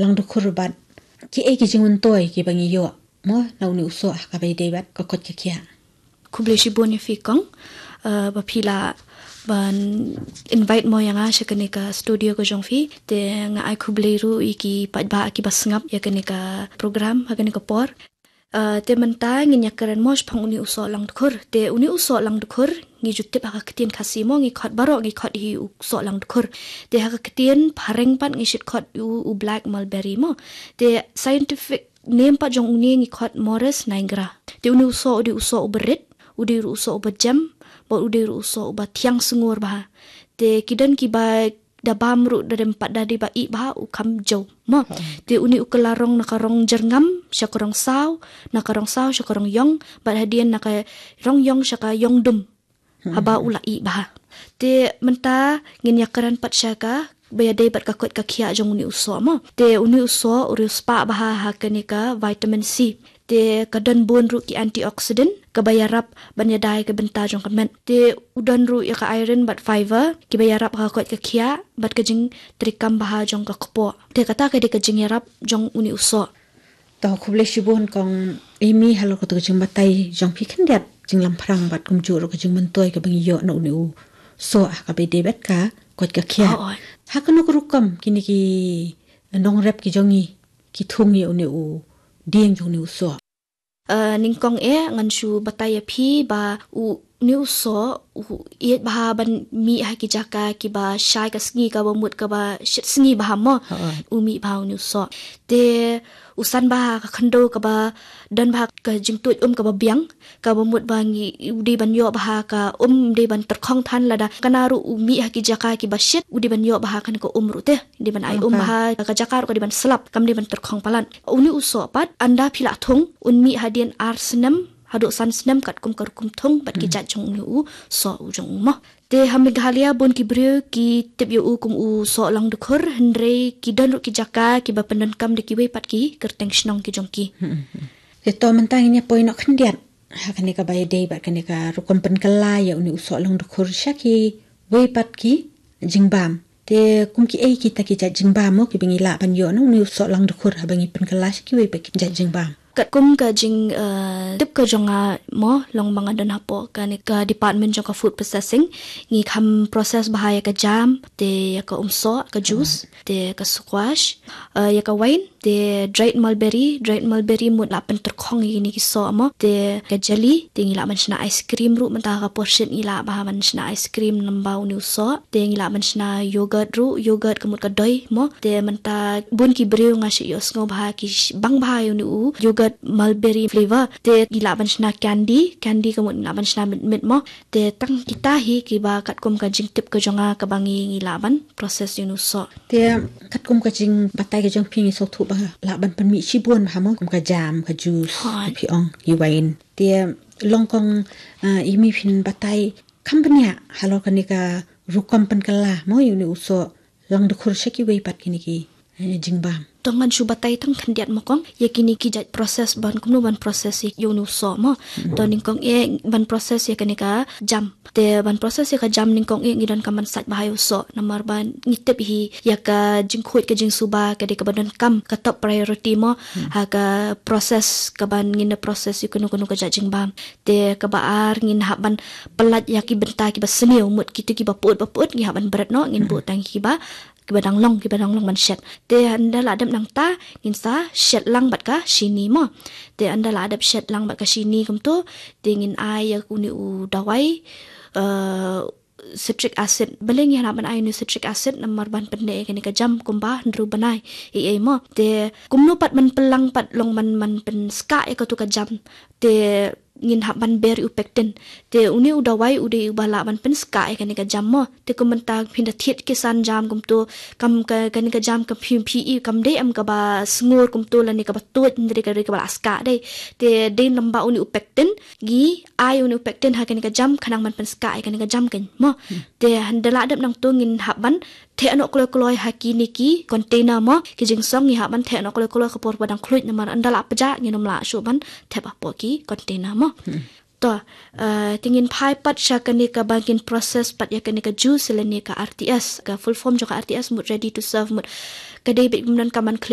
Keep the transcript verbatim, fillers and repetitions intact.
Langdkhur bad kiei ki jingmyntoi kiba ngi ïoh mo na une u soh ha kaba ïadei bad ka koit ka khiah. Khublei shibun ïa phi kong, eh, ba phi la ban invite mo ïa nga sha kane ka studio ka jong phi. Te nga ai khublei ruh ïa ki paidbah kiba sngap ïa kane ka program ha kane ka por. Eh, te mynta ngin ïakren mo shaphang une u soh langdkhur. Te une u soh langdkhur ngi ju tip ha ka ktien Khasi mo, ngi khot baroh, ngi khot hi u soh langdkhur. Te ha ka ktien phareng pat ngi shait khot u, u black mulberry mo. Te scientific name pat jong une ngi khot Morus nigra. Te une u soh u dei u soh uba rit, u dei ruh u soh uba jem, bad u dei ruh u soh uba thiang sngur bha. Te ki don kiba da bam ruh da dem pat da dei ba ih bha u kham jew mo. Te une u kylla rong na ka rong jyrngam sha ka rong saw, na ka rong saw sha ka rong ïong, bad hadien na ka rong ïong sha ka ïong dum. Haba u la ih bha. Te mynta ngin ïakren pat sha kaba ïadei bad ka koit ka khiah jong une u soh mo. Te une u soh u riewspah bha ha kane ka vitamin C. Te ka don bun ruh ki antioxidant kaba ïarap ban ïada ïa ka bynta jong ka met. Te u don ruh ïa ka iron bad fiber kiba ïarap ha ka koit ka khiah bad ka jingtreikam bha jong ka kpoh. Te kata ka dei ka jingïarap jong une u soh. To khublei shibun kong Amy halor kato ka jingbatai jong phi khyndiat, jinglamphrang bad kumjuh ruh ka jingmyntoi kaba ngi ïoh na une u soh ha kaba ïadei bad ka koit ka khiah. Oh, oh. Ha kano ka rukom kine ki nongrep ki jong ngi ki thung ïa une u dieng jong une u soh? Eh, nyngkong eh ngan shu batai ïa phi ba u, une u soh u ïeit bha ban mih ha ki jaka kiba shai ka sngi, kaba mut kaba shit sngi bha mo. Ha. U mih bha une u soh. Te u san bha ha ka khyndew kaba don bha ka jingtuid um kaba biang, kaba mut ba ngi u dei ban ïoh bha ka um, u dei ban tyrkhong than lada kane ruh u mih ha ki jaka kiba shit, u dei ban ïoh bha kane ka um ruh te. Dei ban ai um bha, ka jaka ruh ka dei ban slap, kam dei ban tyrkhong palat. Une u soh pat, ynda phi la thung, un mih hadien ar snem haduh san snem katkum ka rukom thung bad ki jait jong une u soh u jong u mo. Te ha Meghalaya bun ki briew ki tip ïa u kum u soh langdkhur, hynrei ki don ruh ki jaka kiba pyndonkam da kiwei pat ki kyrteng shnong ki jong ki. Te to mynta ngin ïa poi noh khyndiat ha kane kaba ïadei bad kane ka rukom pynkylla ïa une u soh langdkhur sha kiwei pat ki jingbam. Te kum kiei kita ki jait jingbam mo kiba ngi lah ban ïoh na une u soh langdkhur haba ngi pynkylla sha kiwei pat ki jait jingbam? Katkum ka jing, eh, tip ka jong nga mo, long ba nga don hapoh kane ka department jong ka food processing, ngi kham process bha ïa ka jam, te ïa ka um soh, ka juice, te ka squash, eh, ïa ka wine, te dried mulberry, dried mulberry mut lah pyntyrkhong ïa kine ki soh mo, te ka jelly, te ngi lah ban shna ice cream ruh, mynta ka por shit ngi lah bha ban shna ice cream namar une u soh, te ngi lah ban shna yogurt ruh, yogurt ka mut ka doi mo, te mynta bun ki briew nga shu ïohsngew bha ki sh-, bang bha ïa une u yogurt mulberry flavor, te ngi lah ban shna candy, candy ka mut ngi lah ban shna mit mit mo, te tang kita hi kiba katkum ka jingtip ka jong nga kaba ngi, ngi lah ban process ïa une u soh. Te katkum ka jingbatai ka jong phi ngi sngewthuh ba lah ban pynmih shibun bha mo, kum ka jam, ka juice, ka phi ong, ki wine. Te long kong, ah, Amy phin batai kham bniah halor kane ka rukom pynkylla mo ïa une u soh langdkhur sha kiwei pat kine ki, eh, jingbam. To ngan shu batai tang khyndiat mo kong ïa kine ki jait process ban kumno ban process ïa une u soh mo. To nyngkong eh ban process ïa kane ka jam. Te ban process ïa ka jam nyngkong eh ngi donkam ban sait bha ïa u soh namar ba ngi tip hi ïa ka jingkhuid ka jingsuba ka dei kaba donkam ka top priority mo. Ha ka process kaban ngin da process ïa kano kano ka jait jingbam. Te kaba ar ngin hap ban pyllait ïa ki bynta kiba sniew, mut kito kiba put ba put ngi hap ban bret noh, ngin buh tang kiba, kiba dang long, kiba dang long ban shet. Te ynda la dep nangta ngin sa shet lang bad ka shini mo. Te ynda la dep shet lang bad ka shini kumto, te ngin ai ïa une u dawai, eh, citric acid. Balei ngi hap ban ai une u citric acid? Namar ban pynneh ïa kane ka jam kumba hynriew bnai ei ei mo. Te kumno pat ban pynlang pat long ban, ban pynskah ïa kato ka jam. Te ngin hap ban ber ïa u pectin. Te une u dawai u dei uba lah ban pynskah ïa kane ka jam mo. Te kum mynta phin da thied ki san jam kumto, kam ka, kane ka jam ka phi, phi i kam dei em kaba sngur kumto lane kaba tuid, hynrei ka dei kaba la skah dei. Te dei namar une u pectin, ngi ai une u pectin ha kane ka jam khnang ban pynskah ïa kane ka jam kan mo. Te ynda la dep nangto ngin hap ban theh noh kloi kloi ha kine ki container mo, ki jingsong ngi hap ban theh noh kloi kloi ka por ba dang khluit namar ynda la pjah ngin ym lah shuh ban thep hapoh ki container mo. To, uh, te ngin phai pat sha kane kaba ngin process pat ïa kane ka juice lane ka R T S, ka full form jong ka R T S mut ready to serve mut. Ka dei beit kumno ka man